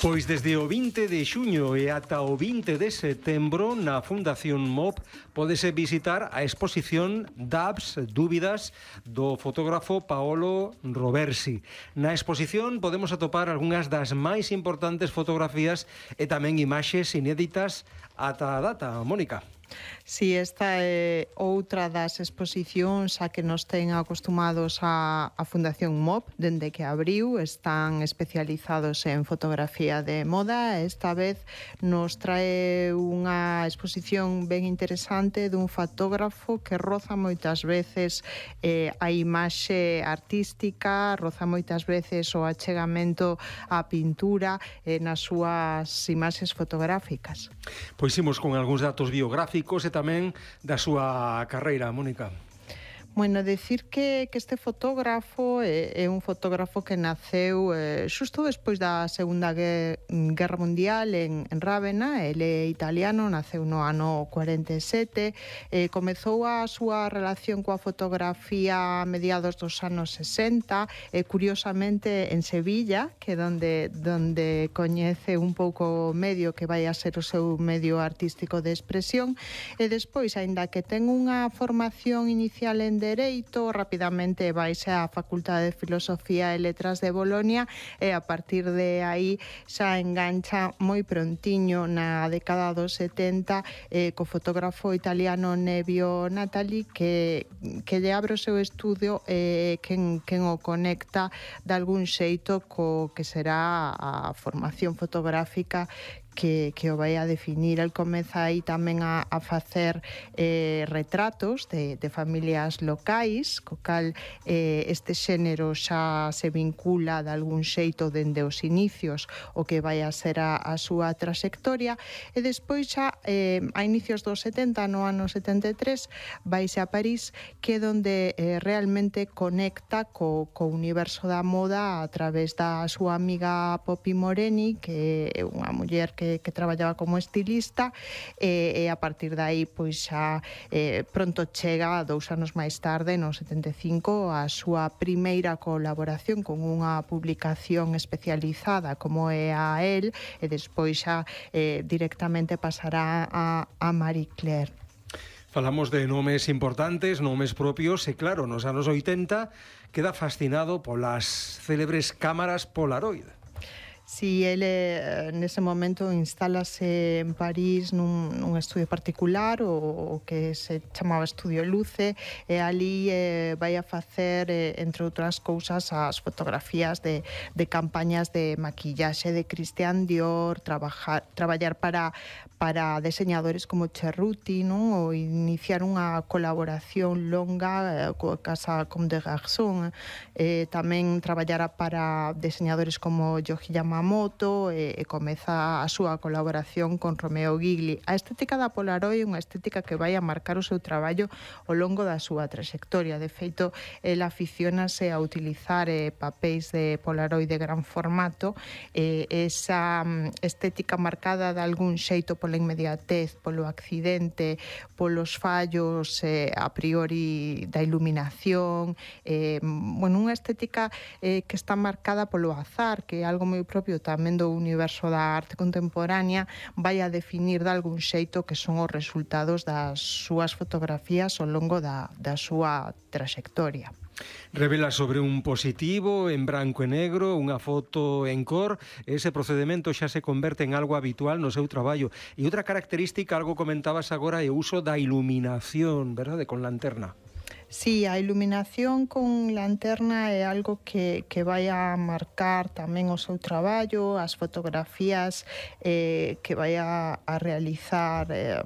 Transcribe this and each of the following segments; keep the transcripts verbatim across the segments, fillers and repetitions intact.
Pois desde o vinte de xuño e ata o vinte de setembro na Fundación M O P pódese visitar a exposición Dabs, Dúbidas, do fotógrafo Paolo Roversi. Na exposición podemos atopar algunhas das máis importantes fotografías e tamén imaxes inéditas ata a data. Mónica. Si, esta é outra das exposicións a que nos ten acostumados a, a Fundación M O P dende que abriu. Están especializados en fotografía de moda. Esta vez nos trae unha exposición ben interesante dun fotógrafo que roza moitas veces eh, a imaxe artística, roza moitas veces o achegamento á pintura eh, nas súas imaxes fotográficas. Pois imos con algúns datos biográficos e tamén da súa carreira, Mónica. Bueno, decir que, que este fotógrafo é, é un fotógrafo que naceu eh, xusto despois da Segunda Guerra Mundial en, en Rávena. Ele é italiano, naceu no ano cuarenta e sete, eh, comezou a súa relación coa fotografía a mediados dos anos sesenta, eh, curiosamente en Sevilla, que é donde, donde coñece un pouco o medio que vai a ser o seu medio artístico de expresión, e despois, aínda que ten unha formación inicial en Dereito, rapidamente vaise á Facultade de Filosofía e Letras de Bolonia e a partir de aí xa engancha moi prontiño na década dos setenta eh, co fotógrafo italiano Nevio Natali, que, que lle abre o seu estudio e eh, quen, quen o conecta de algún xeito co que será a formación fotográfica que, que o vai a definir. El comeza aí tamén a, a facer eh, retratos de, de familias locais, co cal eh, este xénero xa se vincula de algún xeito dende os inicios o que vai a ser a, a súa trayectoria, e despois xa eh, a inicios dos setenta, no ano setenta e tres, vaise a París, que é onde eh, realmente conecta co, co universo da moda a través da súa amiga Poppy Moreni, que é unha muller que Que, que traballaba como estilista, e, e a partir de aí pois xa eh, pronto chega, dous anos máis tarde, no setenta e cinco, a súa primeira colaboración con unha publicación especializada como é a El, e despois xa eh, directamente pasará a, a Marie Claire. Falamos de nomes importantes, nomes propios, e claro, nos anos oitenta queda fascinado polas célebres cámaras Polaroid. Si, ele nese momento instálase en París nun, nun estudio particular, o, o que se chamaba Estudio Luce, e ali eh, vai a facer, eh, entre outras cousas, as fotografías de, de campañas de maquillaxe de Christian Dior, trabajar, traballar para, para deseñadores como Cerruti, non? Ou iniciar unha colaboración longa eh, coa casa Comme des Garçons, eh, tamén traballara para deseñadores como Yohji Yamamoto, e, e comeza a súa colaboración con Romeo Gigli. A estética da Polaroid é unha estética que vai a marcar o seu traballo ao longo da súa trayectoria. De feito, el aficionase a utilizar eh, papéis de Polaroid de gran formato, e eh, esa um, estética marcada de algún xeito pola inmediatez, polo accidente, polos fallos eh, a priori da iluminación, eh, bueno, unha estética eh, que está marcada polo azar, que é algo moi propio tamén do universo da arte contemporánea, vai a definir de algún xeito que son os resultados das súas fotografías ao longo da, da súa trayectoria. Revela sobre un positivo en branco e negro, unha foto en cor. Ese procedimento xa se converte en algo habitual no seu traballo. E outra característica, algo comentabas agora, é o uso da iluminación, verdade, con lanterna. Sí, a iluminación con lanterna é algo que, que vai a marcar tamén o seu traballo, as fotografías eh, que vai a, a realizar eh,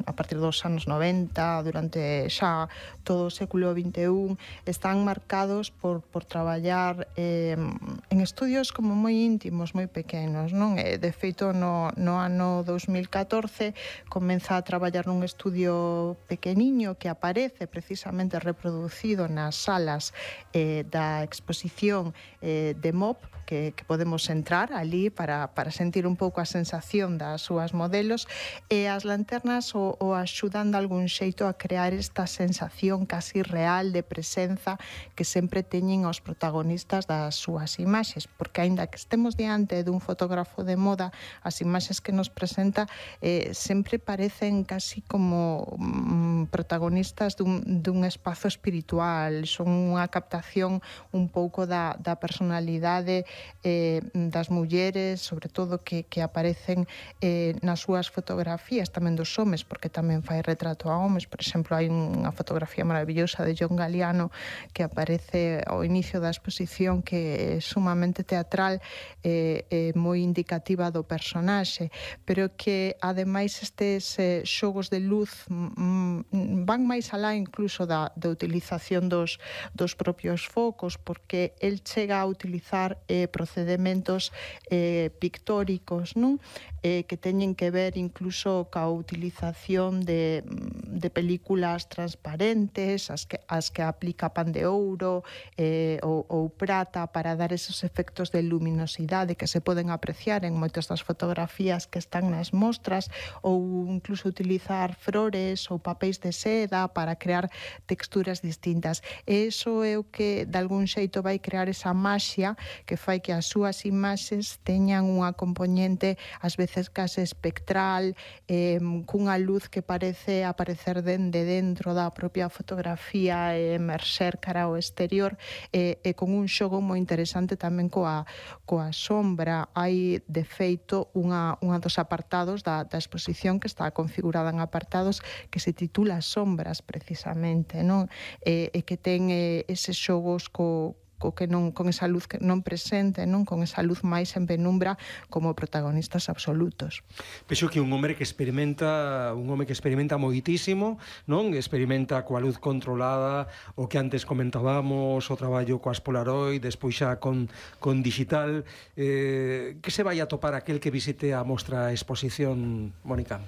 a partir dos anos noventa, durante xa todo o século vinte e un, están marcados por, por traballar eh, en estudios como moi íntimos, moi pequenos, non? E, de feito, no, no ano dos mil catorce comeza a traballar nun estudio pequeniño que aparece precisamente reproducido nas salas eh, da exposición eh, de M O P, que, que podemos entrar ali para, para sentir un pouco a sensación das súas modelos, e as lanternas o, o axudan de algún xeito a crear esta sensación casi real de presenza que sempre teñen os protagonistas das súas imaxes, porque aínda que estemos diante dun fotógrafo de moda, as imaxes que nos presenta eh, sempre parecen casi como mm, protagonistas dun, dun espazo espiritual, son unha captación un pouco da, da personalidade eh, das mulleres, sobre todo que, que aparecen eh, nas súas fotografías, tamén dos homes, porque tamén fai retrato a homes. Por exemplo, hai unha fotografía maravillosa de John Galliano que aparece ao inicio da exposición, que é sumamente teatral e eh, eh, moi indicativa do personaxe, pero que ademais estes eh, xogos de luz mm, van máis alá incluso da, da utilización dos, dos propios focos, porque el chega a utilizar eh, procedementos eh, pictóricos, non? Eh, que teñen que ver incluso ca utilización de, de películas transparentes, as que, as que aplica pan de ouro eh, ou, ou prata para dar esos efectos de luminosidade que se poden apreciar en moitas das fotografías que están nas mostras, ou incluso utilizar flores ou papéis de seda para crear texturas distintas. E iso é o que de algún xeito vai crear esa maxia que fai que as súas imaxes teñan unha componente ás veces case espectral, eh, cunha luz que parece aparecer dende dentro da propia fotografía e emerxer cara ao exterior, e, e con un xogo moi interesante tamén coa, coa sombra. Hai, de feito, unha, unha dos apartados da, da exposición que está configurada en apartados que se titula Sombras, precisamente, non? E, e que ten eh, eses xogos co co que non, con esa luz que non presente, non, con esa luz máis en penumbra como protagonistas absolutos. Vexo que un home que experimenta, un home que experimenta moitísimo, non? Experimenta coa luz controlada, o que antes comentábamos, o traballo coas Polaroid, despois xa con, con digital. Eh, que se vai a topar aquel que visite a mostra a exposición, Mónica?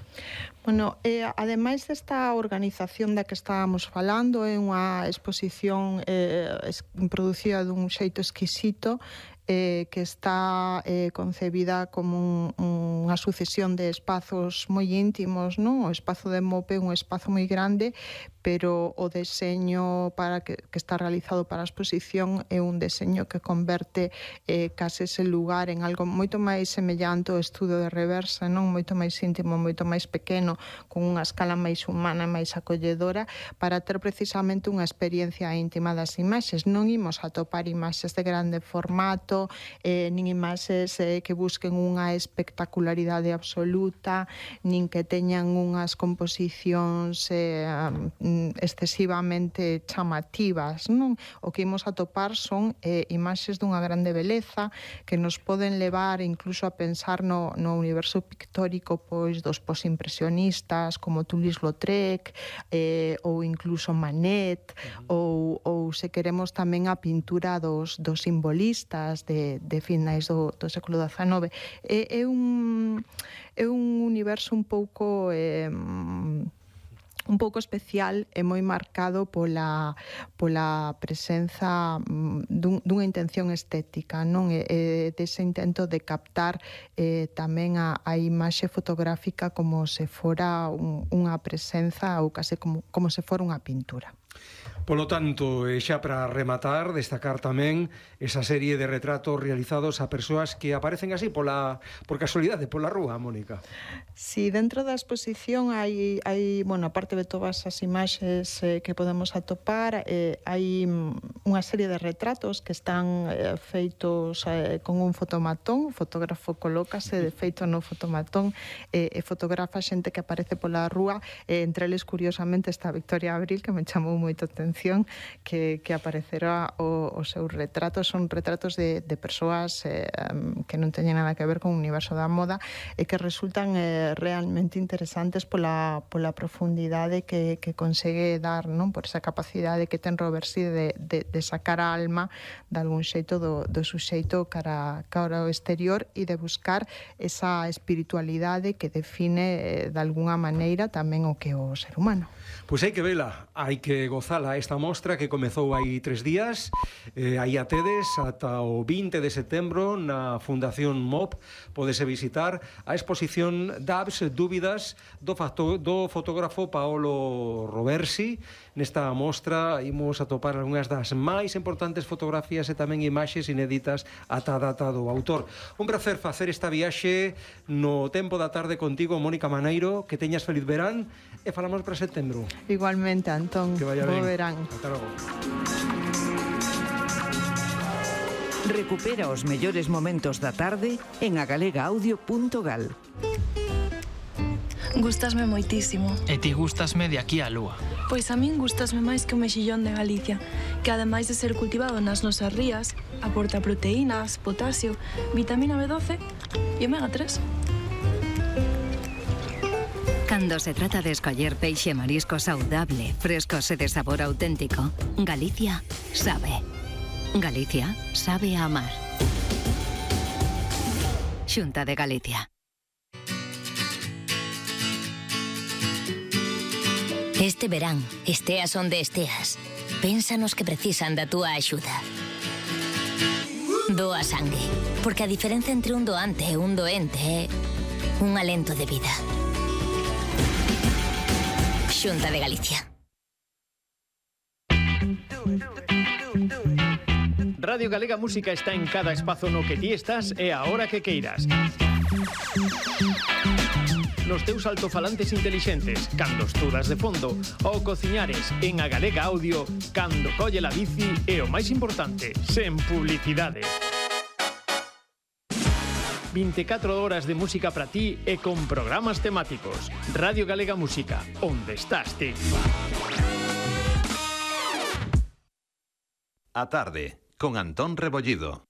Bueno, eh, ademais desta organización da que estábamos falando, é unha exposición eh, producida dun xeito exquisito, eh, que está eh, concebida como un, unha sucesión de espazos moi íntimos, non? O espazo de Mope é un espazo moi grande, pero o deseño para que, que está realizado para a exposición é un deseño que converte eh, case ese lugar en algo moito máis semellante ao estudo de Reversa, non? Moito máis íntimo, moito máis pequeno, con unha escala máis humana, máis acolledora, para ter precisamente unha experiencia íntima das imaxes. Non imos a topar imaxes de grande formato, eh, nin imaxes eh, que busquen unha espectacularidade absoluta, nin que teñan unhas composicións eh, excesivamente chamativas, non? O que imos a topar son eh, imaxes dunha grande beleza que nos poden levar incluso a pensar no, no universo pictórico pois dos posimpresionistas como Toulouse-Lautrec eh, ou incluso Manet, uh-huh. ou, ou se queremos tamén a pintura dos, dos simbolistas de, de finais do, do século dezanove. É, é un é un universo un pouco eh, un pouco especial e moi marcado pola, pola presenza dun, dunha intención estética, non? E, e dese intento de captar eh, tamén a, a imaxe fotográfica como se fora un, unha presenza ou case como, como se fora unha pintura. Polo tanto, xa para rematar, destacar tamén esa serie de retratos realizados a persoas que aparecen así pola, por casualidade, pola rúa, Mónica. Si, sí, dentro da exposición hai, hai bueno, aparte de todas as imaxes eh, que podemos atopar, eh, hai unha serie de retratos que están eh, feitos eh, con un fotomatón. O fotógrafo colócase, de feito, no fotomatón eh, e fotografa xente que aparece pola rúa, eh, entre eles, curiosamente, está Victoria Abril, que me chamou moito atención, que, que aparecerá o, os seus retratos. Son retratos de, de persoas eh, que non teñen nada que ver con o universo da moda e que resultan eh, realmente interesantes pola, pola profundidade que, que consegue dar, non? Por esa capacidade que ten Robert Sidd de, de, de sacar a alma de algún xeito do, do suxeito cara, cara ao exterior e de buscar esa espiritualidade que define eh, de alguna maneira tamén o que é o ser humano. Pois hai que vela, hai que gozala esta mostra que comezou hai tres días. Eh, aí a tedes ata o vinte de setembro na Fundación M O P. Podese visitar a exposición Dabs, dúbidas do, facto, do fotógrafo Paolo Roversi. Nesta mostra imos atopar algunhas das máis importantes fotografías e tamén imaxes inéditas ata a data do autor. Un placer facer esta viaxe no tempo da tarde contigo, Mónica Maneiro. Que teñas feliz verán e falamos para setembro. Igualmente, Antón. Que vaya Bo ben. verán. Hasta logo. Recupera os mellores momentos da tarde en agalega audio punto gal. Gústasme moitísimo. E ti gústasme de aquí á lúa. Pois a min gústasme máis que o mexillón de Galicia, que ademais de ser cultivado nas nosas rías, aporta proteínas, potasio, vitamina B doce e omega tres. Cando se trata de escoller peixe e marisco saudable, frescos e de sabor auténtico, Galicia sabe. Galicia sabe a amar. Xunta de Galicia. Este verán, esteas onde esteas, pensa nos que precisan da túa axuda. Doa sangue, porque a diferencia entre un doante e un doente é un alento de vida. Xunta de Galicia. Radio Galega Música está en cada espazo no que ti estás e a hora que queiras. Nos teus altofalantes intelixentes, cando estudas de fondo, ou cociñares en a Galega Audio, cando colle la bici e o máis importante, sen publicidade. vinte e catro horas de música para ti e con programas temáticos. Radio Galega Música, onde estás ti? A tarde, con Antón Rebollido.